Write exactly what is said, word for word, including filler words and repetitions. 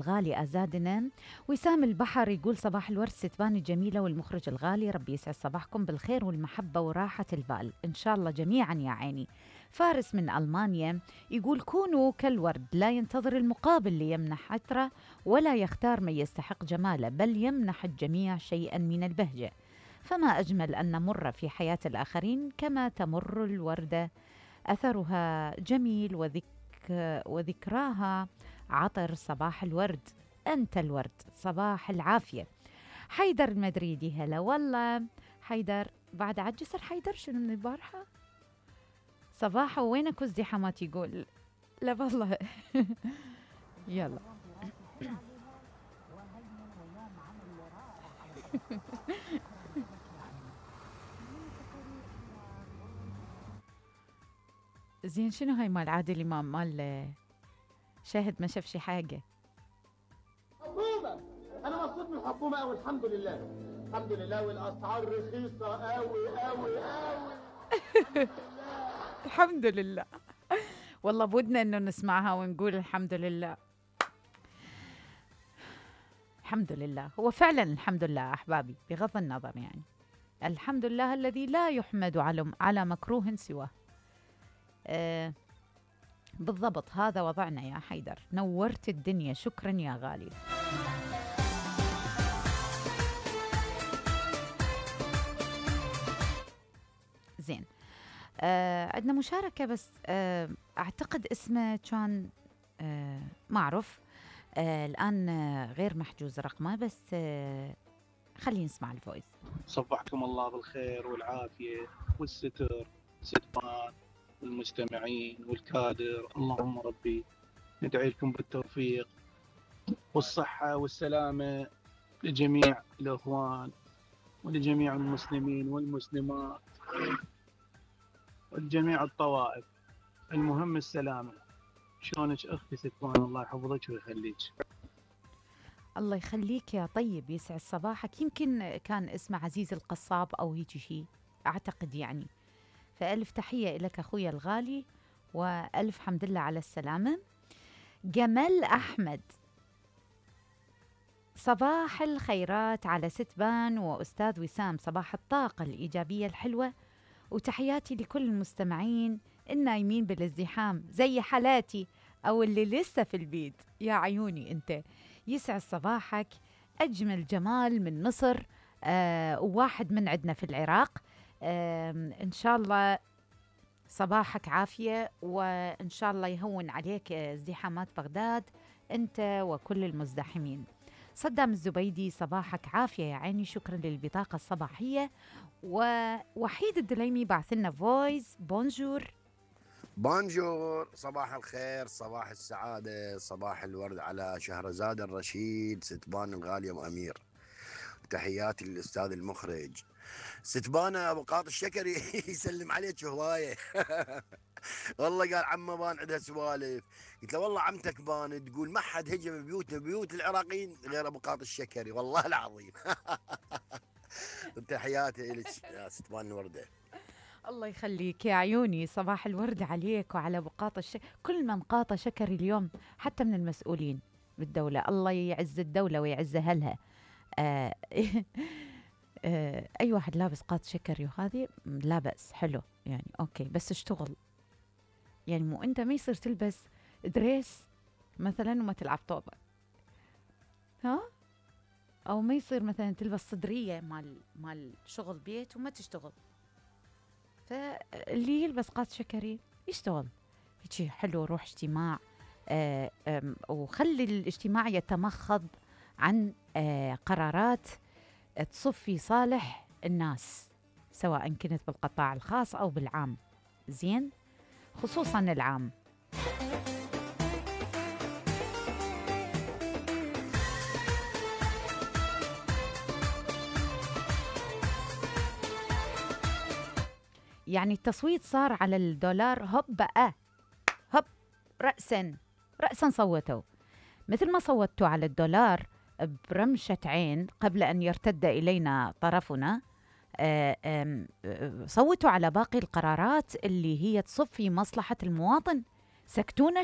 الغالي أزادنا. وسام البحر يقول صباح الورد ستبان الجميلة والمخرج الغالي، ربي يسعد صباحكم بالخير والمحبة وراحة البال إن شاء الله جميعا يا عيني. فارس من ألمانيا يقول كونوا كالورد، لا ينتظر المقابل ليمنح عطره ولا يختار من يستحق جماله، بل يمنح الجميع شيئا من البهجة. فما أجمل أن نمر في حياة الآخرين كما تمر الوردة، أثرها جميل وذك وذكراها عطر. صباح الورد، أنت الورد، صباح العافية. حيدر المدريدي هلا والله. حيدر بعد عجسر حيدر شنو من البارحة صباحه وينك ازدحامات يقول لا والله. يلا زين شنو هاي مال عادل امام مال شاهد ما شاف شي حاجه. حبوبه انا مبسوط من الحكومه قوي الحمد لله الحمد لله، والاسعار رخيصه قوي قوي قوي. الحمد لله. والله بدنا انه نسمعها ونقول الحمد لله الحمد لله. هو فعلا الحمد لله احبابي بغض النظر، يعني الحمد لله الذي لا يحمد على على مكروه سواه. آه بالضبط هذا وضعنا يا حيدر، نورت الدنيا، شكرا يا غالي. زين آه عندنا مشاركة بس آه أعتقد اسمه كان آه ما أعرف آه الآن آه غير محجوز رقمه، بس آه خلينا نسمع الفويس. صبحكم الله بالخير والعافية والستر ستبان والمستمعين والكادر، اللهم ربي ندعي لكم بالتوفيق والصحة والسلامة لجميع الأخوان ولجميع المسلمين والمسلمات ولجميع الطوائف. المهم السلامة. شلونك أختي ستبان؟ الله يحفظك ويخليك. الله يخليك يا طيب، يسعد صباحك. يمكن كان اسمه عزيز القصاب أو هيك شيء أعتقد يعني. فألف تحية لك أخويا الغالي وألف حمد لله على السلامة. جمال أحمد صباح الخيرات على ستبان وأستاذ وسام، صباح الطاقة الإيجابية الحلوة، وتحياتي لكل المستمعين النايمين بالازدحام زي حالاتي أو اللي لسه في البيت. يا عيوني أنت، يسعد صباحك. أجمل جمال من مصر آه وواحد من عندنا في العراق. آه إن شاء الله صباحك عافية، وإن شاء الله يهون عليك ازدحامات بغداد أنت وكل المزدحمين. صدام الزبيدي صباحك عافية يا عيني، شكرا للبطاقة الصباحية. ووحيد الدليمي بعث لنا فويس. بونجور بونجور، صباح الخير، صباح السعادة، صباح الورد على شهرزاد الرشيد ستبان الغالية وأمير. تحياتي للأستاذ المخرج ستبانة أبو قاط الشكري. يسلم عليك هواية. والله قال عمه بان عندها سوالف، قلت له والله عمتك بان تقول ما حد هجم بيوتنا بيوت العراقيين غير أبو قاط الشكري، والله العظيم. تحياتي لك يا ستبان الوردة. الله يخليك يا عيوني، صباح الورد عليك وعلى بقاط الشكر، كل من قاط شكري اليوم حتى من المسؤولين بالدولة. الله يعز الدولة ويعز أهلها. آه آه أي واحد لابس قاط شكري وهذه لا بأس، حلو يعني أوكي، بس اشتغل يعني. مو أنت ما يصير تلبس دريس مثلا وما تلعب طوبة، ها؟ أو ما يصير مثلا تلبس صدرية مال مال شغل بيت وما تشتغل. فاللي يلبس قاط شكري يشتغل هيك حلو، روح اجتماع آه وخلي الاجتماع يتمخض عن آه قرارات تصف في صالح الناس، سواء كنت بالقطاع الخاص أو بالعام. زين، خصوصا العام. يعني التصويت صار على الدولار هوب بقى هوب رأسا رأسا صوتوا مثل ما صوتوا على الدولار برمشة عين قبل أن يرتد إلينا طرفنا. صوتوا على باقي القرارات اللي هي تصف في مصلحة المواطن. سكتونا